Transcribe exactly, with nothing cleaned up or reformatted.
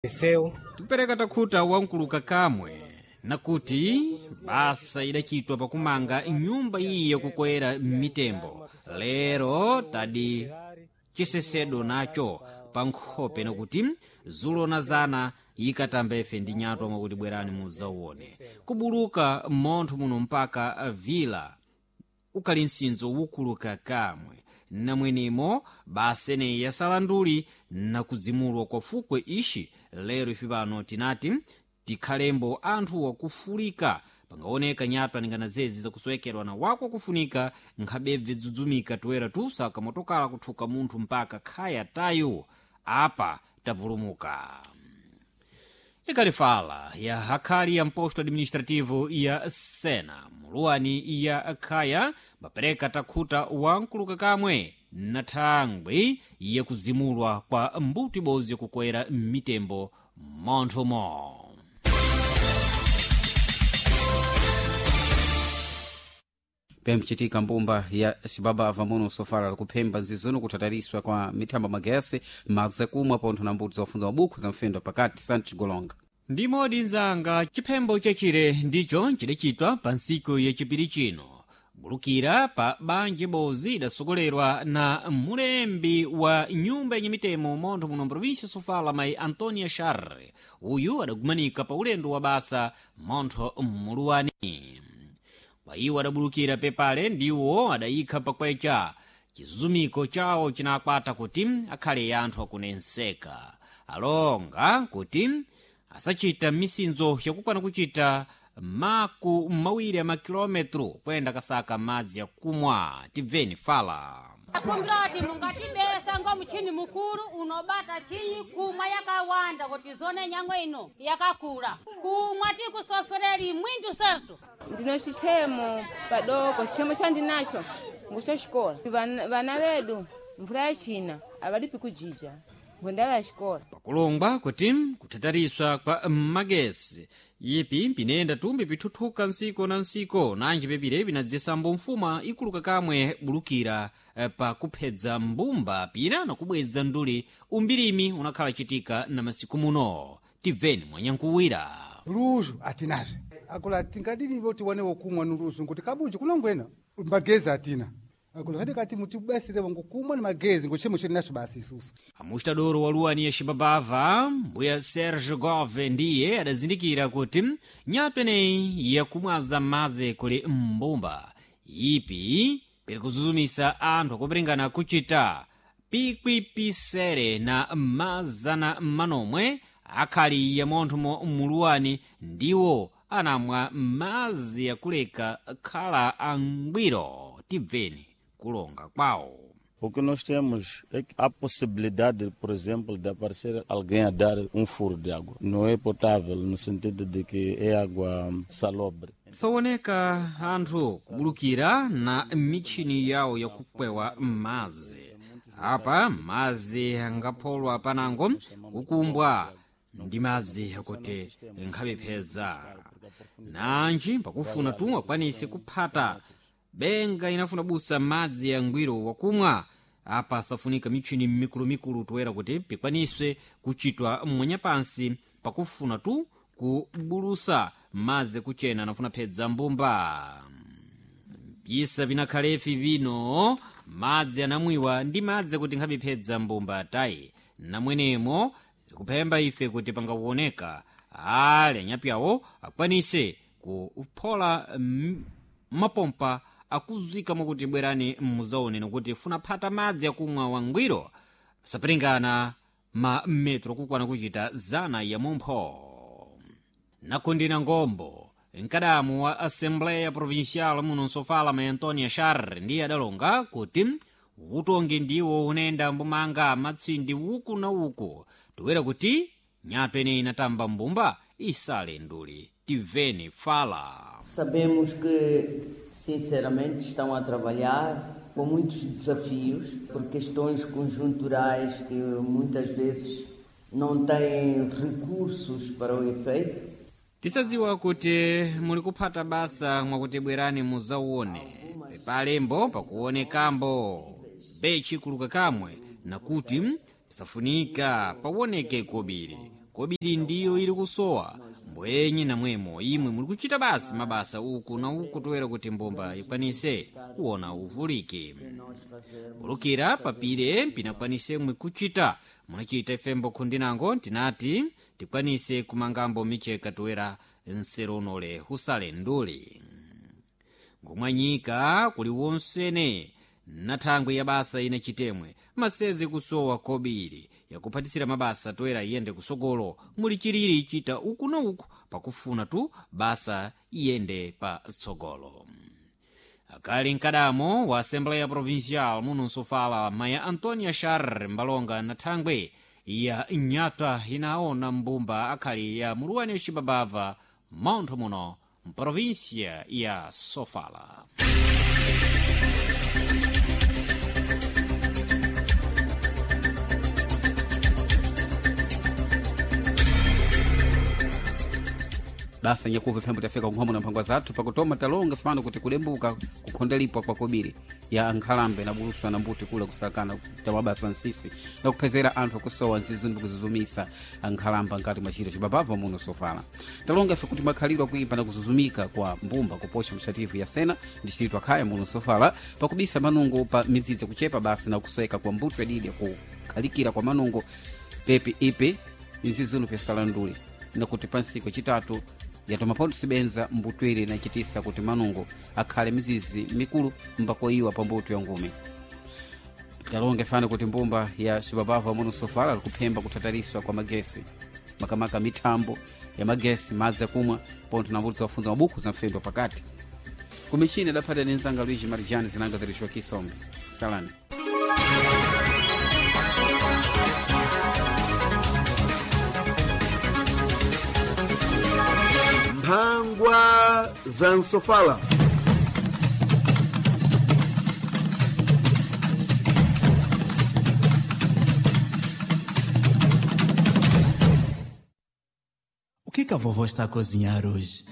Seu Tikupereka takhuta wankuluka kamwe nakuti basa idachitwa pakumanga nyumba iyi yakukwera mitembo lero tadi chisesedo nacho pa nkhope nakuti zulo zana yikatamba ife ndi nyatwa mwakuti bwerani mudzauone kubuluka montho muno mpaka vila ukali msinzo wukuluka kamwe namwenemo basa eneyi yasala nduli nakudzimulwa kwa fukwe ixi lero ife pano tinati tikhalembo anthu wakufulika pangaoneka nyatwa ningana zezi zakusowekerwa na wako kufunika nkhabebve dzudzumika toera tusaka motokala kuthuka munthu mpaka khaya tayo apa tapulumuka. Ikalifala ya hakhali ya mposto administrativo ya sena muluwani ya khaya bapereka takhuta wankuluka kamwe na thangwi yakuzimulwa kwa mbuto ibodzi yakukwera mitembo monthomo. Pemchitika mbumba ya cibabava muno sofala likuphemba nzizono kutatariswa kwa mithamba magesi madzi akumwa pontho na mbuto zakufunza mabukhu za mfendo pakati sanchigolonga. Ndi modi nzanga chiphembo chachire ndicho chidachitwa pa ntsiku yachipiri chino bulukira pa banja ibodzi idasogolerwa na mulembi wa nyumba yenye mitemo montho muno mprovinsia sofala mayi Antonia Sharre. Uyu adagumanika pa ulendo wa basa montho muluwani kwa iwo adabulukira pepale ndiwo adayikha pakwecha chizumiko chawo chinakwata kuti akhale anthu akunenseka alonga kuti asachita misinzo yakukwana kuchita maku mawiri a makilometro kuyenda kasaka madzi akumwa. Tibveni fala. Akumbirati mungatibesa ngo muchini mukulu unobata chinyi kumwa yakawanda kuti zone nyango ino yakakula kumwa tikusofereli mwindu sertu. Ndino xichemo padoko xichemo chandinacho nguxoxikola vana vana vedu mvula ya china avalipi kujija ngundava ya xikola. Pakulongwa kuti kutatariswa kwa magesi ipi pinenda tumbi pithuthuka ntsiko na ntsiko nanji pepire pinadzesambo mfuma ikuluka kamwe bulukira eh, pa kuphedza mbumba pina nakubweza nduli umbirimi unakhala chitika na masiku muno. Tibveni mwanyankuwira. Luzu atinazve akula tingadinivo tiwane wokumwa nuluzu nkuti kabunji kunongwena magezi atina akula kadi kati mutibasirevo ngukumwa ni magezi nguchimo chiri nacho basi isusu. Amustadoro wa luwani ya xibabava mbuya Serge Gove ndiye adazindikira kuti nyatwa ineyi yakumwaza madzi kuli mbumba ipi piri kuzuzumisa anthu akupiringana kuchita pikwipisere na mazana manomwe akhali ya monthomo muluwani ndiwo anamwa madzi yakuleka khala angwiro. Tibveni kulonga kwawo. O que nós temos é que há possibilidade, por exemplo, de aparecer alguém a dar um furo de água. Não é potável, no sentido de que é água salobre. Sawoneka anthu kubulukira na mitchini yawo yakukwewa madzi apa madzi angapholwa panango kukumbwa ndi madzi akuti nkhapepheza nanji pakufuna tu akwanise kuphata benga inafuna busa madzi yangwiro wakumwa apa safunika mitchini mikulumikulu toera kuti pikwaniswe kuchitwa mwanyapansi pakufuna tu kubulusa madzi kuchena anafuna phedza mbumba mpisa vinakhalefi vino madzi anamwiwa ndi madzi kuti nkhapiphedza mbumba tayi namwenemo kuphemba ife kuti pangakuoneka ale anyapyawo akwanise kuphola mm, mapompa akuzika mwakuti bwerani muzaone nokuti funa phata madzi akumwa wangwiro sapiringana ma metro kukwana kuchita zana ya mumpho. Nakundina ngombo mkadamu wa assembleya provincial muno nsofala ma Antonia Sharre ndiye adalonga kuti utongi ndiwo unayenda mbumanga matsindi uku na uku toera kuti nyatwa ineyi inatamba mbumba isale nduli. Tiveni fala. Sabemos que, sinceramente, estão a trabalhar com muitos desafios, por questões conjunturais que muitas vezes não têm recursos para o efeito. Tisadziwa kuti muli kuphata basa mwakuti bwerani muzauone pepalembo pakuonekambo bechi kuluka kamwe nakuti pisafunika pawoneke kobiri. Kobiri ndiyo ili kusowa mbwenye namwemo imwe muli kuchita basi mabasa uku na uku toera kuti mbumba ikwanise kuona uvuliki bulukira papire mpinakwanise mwe kuchita munachita ifembo khundinango tinati tikwanise kumangambo micheka toera nsero unole husale nduli ngomwanyika kuli wonsene na thangwi ya basa ine chitemwe masezi kusowa kobiri yakuphatisira mabasa toera iyende kusogolo muli chilili ichita uku na uku pakufuna tu basa iyende pa tsogolo. Akali mkadamo wa Assembleia Provincial muno nsofala maya Antonia Shar mbalonga na thangwi ya nyata inaona mbumba akhali ya muluwani cibabava mauntho muno mprovinsia ya Sofala. Basa nyakuva phembo tafika kunkhomo na mphangwa zathu pakutoma talonga fano kuti kudembuka kukhondelipwa kwa kobiri ya ankhalambe na buluswa na mbuti kula kusakana tamabasa nsisi na kuphezera anthu akusowa nzizundu kuzuzumisa ankhalamba nkati mwa chiro cibabava muno sofala. Talonga ife kuti makhalidwe akuimba na kuzuzumika kwa mbumba kuposha msativu ya sena ndi chititwa khaya muno sofala pakubisa manungo pa midzidzi kuchepa basi na kusweka kwa mbuto yadidi kukhalikira kwa manungo pepi ipi nzizunu pyasalandule nakuti pansiku chitatu yatoma sibenza mbutwiri nachitisa kuti manungo akhale mizizi mikulu mbakoiwa pa mbuto ya ngume. Talonge fana kuti mbumba ya cibabava muno sofala likuphemba kutatariswa kwa magesi makamaka mithambo ya magesi madzi akumwa pontho na mbuto zakufunza mabuku za mfendo pakati kumishini adaphata ni nzanga Luigi Marijani zinanga zirishwa kisombe salani. Mphangwa za nsofala. O que que a vovó está a cozinhar hoje?